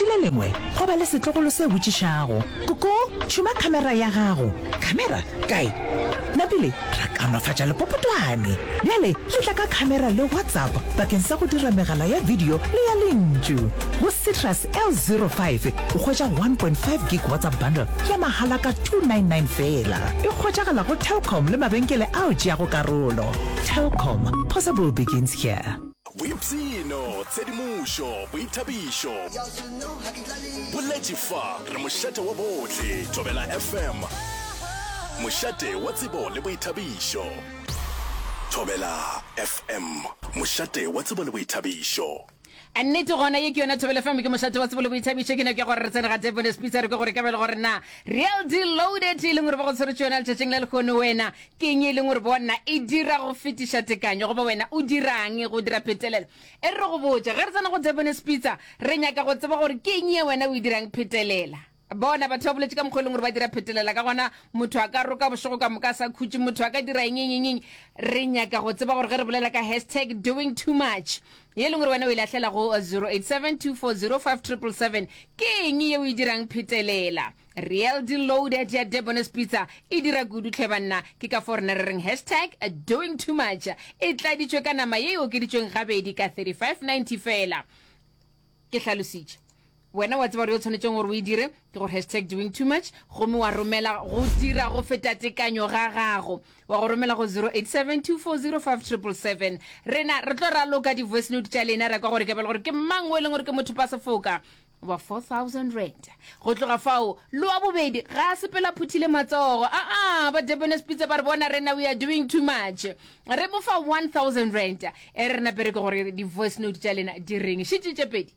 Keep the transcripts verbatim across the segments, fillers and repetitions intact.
le lengwe go ba le setlogolo se botšišago, Koko, tšhuma khamera ya gago. Khamera? Kae? Napile ra kaonafatša lepopotwane. Bjale le tla ka khamera le WhatsApp bakeng sa go dira megala ya video le ya lentšu. Go Citrus L zero five o hwetša one point five gig WhatsApp bundle ya mahala ka two nine nine feela. E hwetšagala go Telkom le mabenkele ao tšeago karolo. Telkom, possible begins here. Boipshino, tshedimošo, boithabišo. Boletše fa, re mošate wa bohle. Thobela F M, mošate wa tsebo le boithabišo. Thobela F M, mošate wa tsebo le boithabišo. A nnete gona ye ke yona Thobela F M, ke mošate wa tsebo le boithabišo. Ke nako ya gore re tsene ga Debonair's Pizza, re kwe gore ka bjale gore na Real Deal Loaded e leng gore ba go tshweretše yona letšatšing la lehono, wena ke eng e leng gore bona e dira go fetiša tekanyo, goba wena o dirang go dira phetelelo. E re re go botše, ge re tsena go Debonair's Pizza re nyaka go tseba gore ke eng ye wena o e dirang phetelela. Bona batho ba boletše ka mokgwa e leng gore ba dira phetelela ka gona, motho a ka roka bošego ka moka a sa khutše, motho a ka dira eng eng eng eng. Re nyaka go tseba gore ge re bolela ka hashtag doing too much ye e leng gore wena o e lahlela go zero eight seven two four zero five triple seven, ke eng ye o e dirang phetelela? Real Deal Loaded ya Debonair's Pizza e dira kudu hle banna, ke ka fao rena re reng hashtag doing too much e tladitšwe ka nama ye e okeditšweng gabedi ka thirty five ninety feela. Ke hlalositše. Wena wa tseba gore yo tshwanetšeng gore o e dire ke gore hashtag doing too much, gomme wa romela go dira go feta tekanyo ga gago, wa go romela go zero eight seven two four zero five triple seven. Rena re tlo raloka di-voice note tša lena, ra kwa gore ke bale gore ke mang o e leng gore ke motho pa sefoka wa four thousand rand. Go tloga fao le wa bobedi ga a sepela phuthile matsogo. Aa, ba Debonair's Pizza ba re bona rena we are doing too much, re mo fa one thousand rand. E re nape re ke gore di-voice note tša lena di reng. Šetše tše pedi.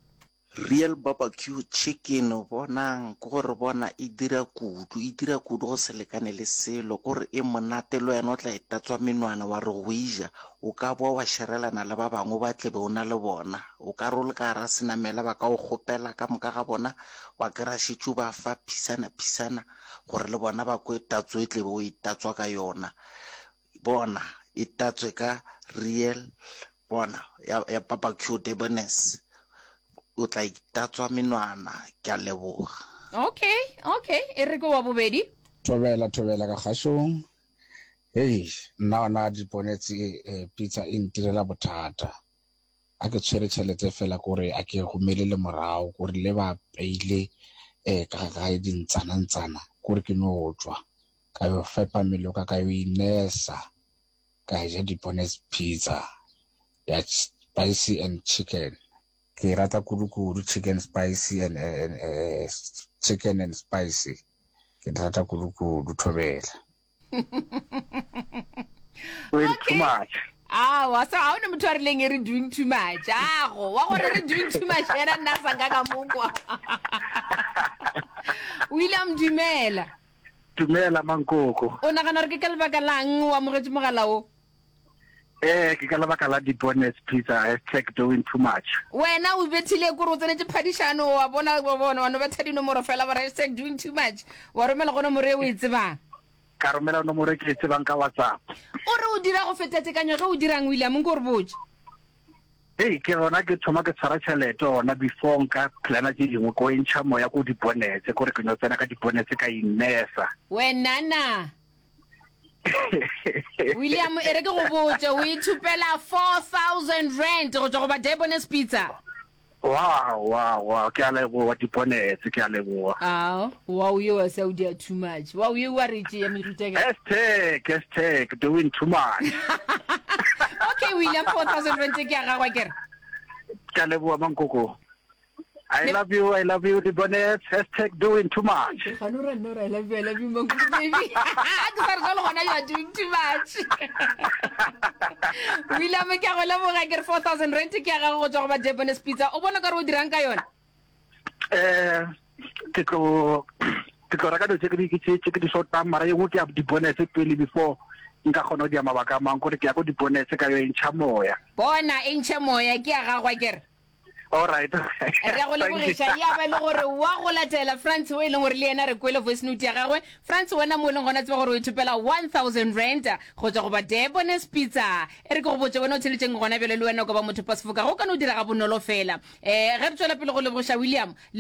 Real barbecue chicken, bonang, ke gore bona e dira kudu, e dira kudu go se lekane le selo, ke gore e monate le wena o tla e tatswa menwana wa re go e ja, o ka boa wa šerelana le ba bangwe ba tlebe o na le bona, o ka re o le ka gara senamela ba ka o kgopela ka moka ga bona, wa kry-a šetše o ba fa phisana phisana gore le bona ba kwe tatso e tlebe o e tatswa ka yona. Bona e tatswe ka real bona ya, ya barbecue Debonair's, o tla itatswa menwana. Ke a leboga. Okay, okay, e re ke wa bobedi. Thobela, thobela ka kgašong. Hei, nna ona Diponetse eh, pizza e ntirela bothata. A ke tshwere tšhelete fela kore a ke romele le morago, kore le ba peile eh, ka gae dintsanantsana, kore ke no tšwa ka yo fepa mmele wa ka, ka yo inesa, ka ja Debonair's Pizza ya spicy and chicken. Ke rata kudu-kudu chicken spicy and, and, uh, chicken and spicy. Ke rata kudu-kudu, thobela. Doing too Okay. much. Awa, so ga o ne motho a rileng e re doing too much. Ago, wa gore re doing too much yena nna sa nka ka mokwa. O ile a modumela. Dumela mankoko. O nagana gore ke ka lebaka lang o amogetše mogala o? Eh, ke ka lebaka la Debonair's Pizza hashtag doing too much. Wena o bethile kore o tsenetše phadišano, wa bona wa bona wa no betha dinomoro fela ba hashtag doing too much, wa romela go nomoro e o e tsebang. Ka romela nomoro e ke e tsebang ka WhatsApp. O re o dira go feta tekanyo ge o dirang, William, nko re botše. Hei, ke gona ke thoma ke tshwara tšhelete gona before nka plana tše dingwe, ko e ntšha moya ko Debonair's, kore ke no tsena ka Debonair's ka inesa. Wena na William, e re ke go botše, o ithupela four thousand rand go tšwa go ba Debonair's Pizza. Wow, wow, wow, ke a leboga Debonair's, ke a leboga. Ao, wow, ye wa sa o dia too much. Wow, ye wa re tšea meruta ka. Hashtag, hashtag, doing too much. Okay, William, four thousand rand ke ya gagwe kere. Ke a leboga mankoko. I love you, I love you, Debonair's, hashtag doing too much. Gano ra nna I love you, I love you, mankoko baby. Ke sa re jalo gona you are doing too much. William, ke a go leboga ke re four thousand rand ke ya gago go tšwa go ba Debonair's Pizza. O bona ka re o dirang ka yona? Eh, ke tlo ke tlo reka dilo tse ke di tse ke di shotang, mara ye nngwe ke ya Debonair's pele before nka kgona go dia mabaka a mang, kore ke ya ko Debonair's ka yo e ntšha moya. Bona e ntšhe moya ke ya gagwe kere. All right. Re go lebogiša ya ba le gore wa go latela France o e leng gore le yena re kwele voice note ya gagwe. France, wena mo e leng gona tseba gore o ithupela one thousand rand go tšwa go ba Debonair's Pizza. E re ke go botše wena o theletšeng gona bjale, le wena o ka ba motho pa sefoka go ka no dira ga bonolo fela. Um ge re tšwela pele go lebogiša William le